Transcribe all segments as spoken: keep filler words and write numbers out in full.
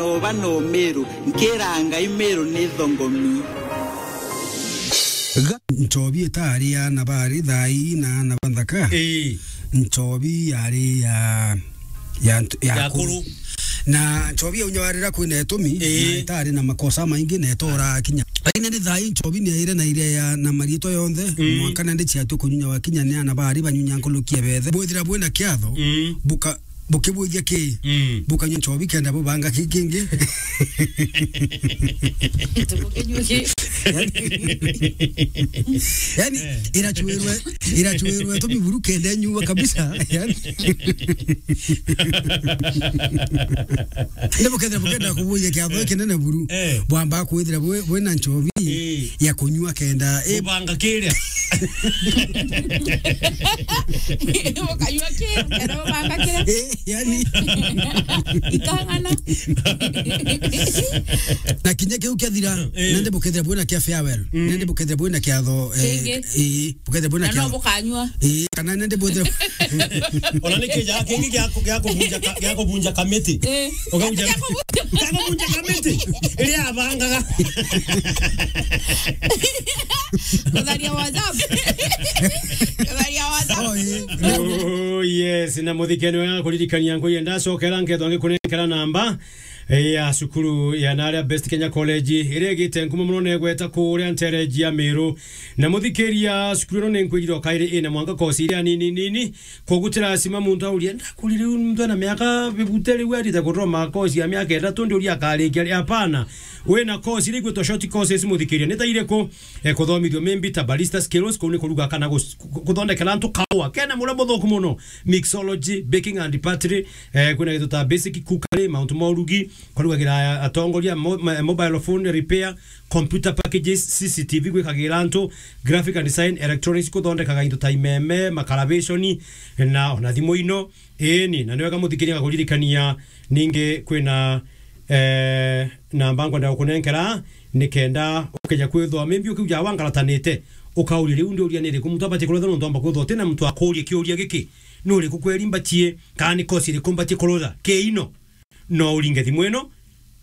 Oba no Meru, nkira Ngai Meru ni thongomi. Ga-, Nchobi itari ana bari thai na ana banthaka. Ii. Nchobi yari ya, ya ntu-, ya Ya akuru. Akuru. Na Nchobi ya unyawarira kwina itumi, ii, na itari na makosa maingi na itora kinya. Lakini ni thai Nchobi ni aire na iria ya na marietwa yonthe, mm, mwanka nandi ciatwe kunyunya wa kinya ni ana bari banyunya nkulukia bethe. Bwithira bwina kiatho, mm, buka-, bukibwithia ki? Mm. Bukanyua nchobi kenda bubanga ki kingi. Tukukinyua ki? Yani, yani, eh, irachuirwe, irachuirwe tu miburu kenda nyua kabisa. Yani. Ndio bukethira bukenda kubuja kiatho, eh, kinene buru. Eh. Bwamba kwithira bwe, bwina nchobi, eh, ya kunyua kenda, eh, bubanga kiria. Ukanyua ki, ukenda ubanga kira. Eh, yani. Ikang'ana. Na kinya kiu kiathira, eh, nende bukethira bwina kia farewell. Mm. Nende bukethira bwina kiatho, eh, kingi. Eh, bukethira bwina na no kiatho. Bukanyua. Eh, kana nende bukethira. Ona ni kija kingi gia ku-, gia kubunja ka-, gia kubunja kamiti. Eh. Ukauja. Gia kubunja. Gia kubunja kamiti. Iria abangaga. Kutharia WhatsApp. Kutharia WhatsApp. Oh, eh. Oh, yes. Na muthikeni wega kuririkania nkui ndacokera nkethwa ngikunenkera namba, eh, ya cukuru ya naria Best Kenya College, iria igite nkuma muno negweta kuria ntereji ya Miru. Na muthikiria cukuru ino ninkwirire o kairi ina mwanka kosi iria nini nini, koguo ti lazima muntu aurie, "Ndakurire riu muntu ena miaka fifty riu arite kuthoma kosi ya miaka ithatu, ndiuria akarikia ri?" Hapana. Wina kosi iria igwitwa short courses, muthikiria, ni ta iriku? Eh, kuthomithio maybe ta barista skills, kuu ni kuruga kana gus-, ku-, kuthondekera antu kaua. Kena muria muthuku muno, mixology, baking and pottery, eh, kwina gintu ta basic cookery, mauntu ma urugi, kurugagira atongoria, mo-, ma-, mobile phone repair, computer packages, C C T V gwikagira antu, graphic and design, electronics, kuthondekaga into ta imeme, makarabishoni, na ona thimu ino. Ii ni, na ni wega muthikiria gakuririkania, ningi kwina, eh, namba nkwenda gukunenkera, nikenda ukija kwithwa maybe ukiuja wangaratanite, ukauria, "Riu ndiuria ni iriku muntu abatie kurutha?" Nontu amba kwithwa utina muntu akuuria kiuria giki, "Ni uriku kweri mbatie, kana ni kosi iriku mbatie kurutha?" Ki ino. No uringe thimu ino,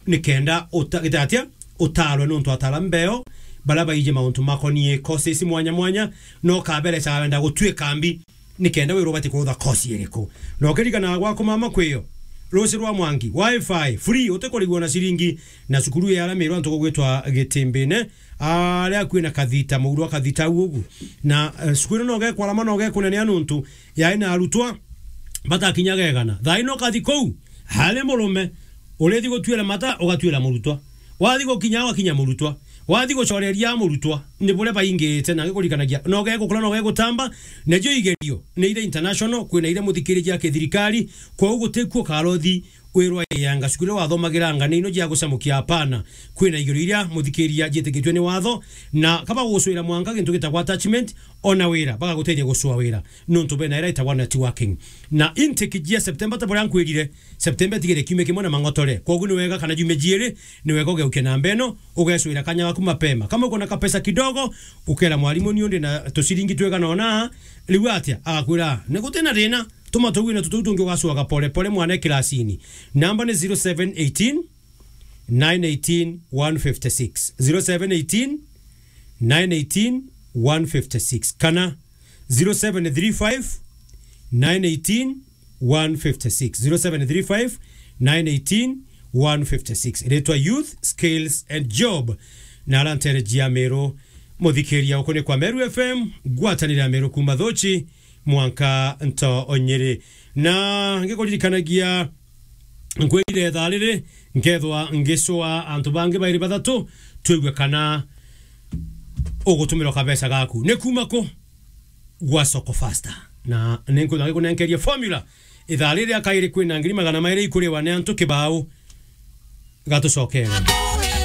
nikenda uta-, gita atia, utarwe nontu atara mbeo, baria baiji mauntu makonie courses mwanya mwanya, no kaberecaga wenda gutwika mbi, nikenda wirwo ubati kurutha course iriku. Na ukiririkana gwaku mama kwio, ruci rwa mwangi, wifi, free, utikurigwa na ciringi, na cukuru ya aramirwa ntuku gwitwa Gitimbine, aria kwina kathita, muuru wa kathita au ugu. Na, eh, cukuru ino no gekwarama, no gekunenea nontu yai na arutwa batakinyaga igana. Thaa ino ukathi kuu, hari murume, urithi gutuira mata, ugatuira murutwa. Wathi gukinya, ugakinya murutwa. Wathi gucoreria murutwa, ni buria baingite, na ngikurikanagia, no gegukura, no gegutamba, nacio igerio ni iria international, kwina iria muthikiriria kithirikari, kwou gutikuo karothi wirwa yanga cukuru iria wathomagira anga ni ino cia gucamukia, hapana. Kwina igerio iria muthikiria cietikitue ni watho, na kaba gugucwira mwanka gintu gitagwa attachment, ona wira, bagagutethia gucua wira. Nontu bena ira itagwa networking. Na intake jia September ta buria nkwirire, September itigire kiumia kimwe na mang'otore. Kwoguo ni wega kana jumia jiiri, ni wega ugeuke namba ino, ugecwira kanya gaku mapema. Kama uko na kapesa kidogo, ukera mwarimu, "Ni undi na tuciringi twigana ona," riu atia? Agakwira, "Ni guti na thina, tuma tuwine tutu tungi ugacwaga pole pole mwana e kirasini." Namba ni zero seven eighteen, nine eighteen, one fifty-six. Zero seven eighteen, nine eighteen, one fifty-six. Kana zero seven three five, nine eighteen, one fifty-six. Zero seven three five, nine eighteen, one fifty-six. Iretwa Youth, Skills and Job. Na arantereji ya Meru, muthikiria uku ni kwa Meru F M, ngwatanire ya Meru kuma Thuchi, mwanka nto onyiri. Na ngikuririkanagia, nkwirire ithaa riri, nkethwa ngicua antu bangi bairi bathatu, twigue kana ugutumirwa kabeca gaku. Ni kuma ku? Gwa Soko Faster. Na ninkwenda ngikunenkerie formula. Ithaa riri akairi kwina ngiri magana mairi ikuriwa ni antu kibao. Gatucokere.